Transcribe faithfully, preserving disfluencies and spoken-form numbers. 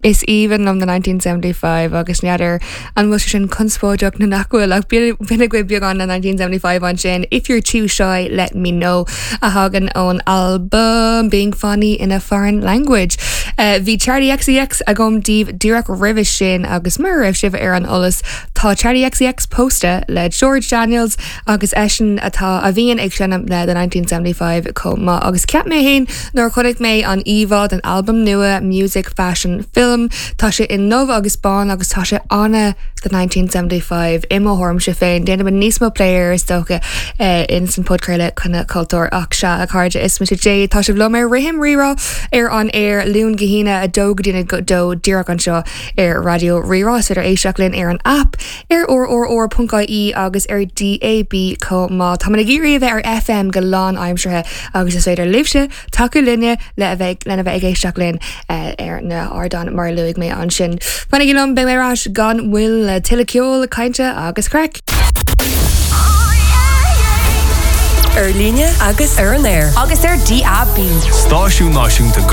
Is aoibhinn liom the nineteen seventy five agus n'fheadar an bhfuil sé sin conspóideach nó nach bhfuil ach b'in agaibh beagán the nineteen seventy five ansin If you're too shy let me know a thagann ón albam Being Funny in a Foreign Language. Uh, bhí Charli XCX agam daoibh díreach roimhe sin agus mura raibh sibh ar an eolas tá Charli XCX pósta le George Daniels agus eisean atá a bhíonn ag seinm le the nineteen seventy five chomh maith agus cheap mé féin nuair a chonaic mé an íomhá den albam nua Music Fashion Film Tá sé i ndubh agus bán agus tá sé ana the nineteen seventy five i mo thuairimse féin. Déanfaidh níos mó plé air is dócha eh, in san podchraoladh Coinne Cultúir ach sea a chairde is mise Jade tá sibh liom ar Rithim Rírá ar an aer Luan go hAoine a dó go dtí a dó díreach anseo ar Raidió Rí-Rá is féidir éisteacht linn ar an app ar rrr.ie agus ar DAB chomh maith. Tá ag iarraidh a bheith ar FM go lánaimseartha agus is féidir libhse tacú linne le a bheith lena bheith ag éisteacht linn eh, ar na hardáin mar a luaigh mé ansin. Fanaigí liom beidh mé ar ais gan mhoill le tuilleadh ceoil, cainte agus craic. Ar líne agus ar an aer. Agus ar DAB. Stáisiún Náisiúnta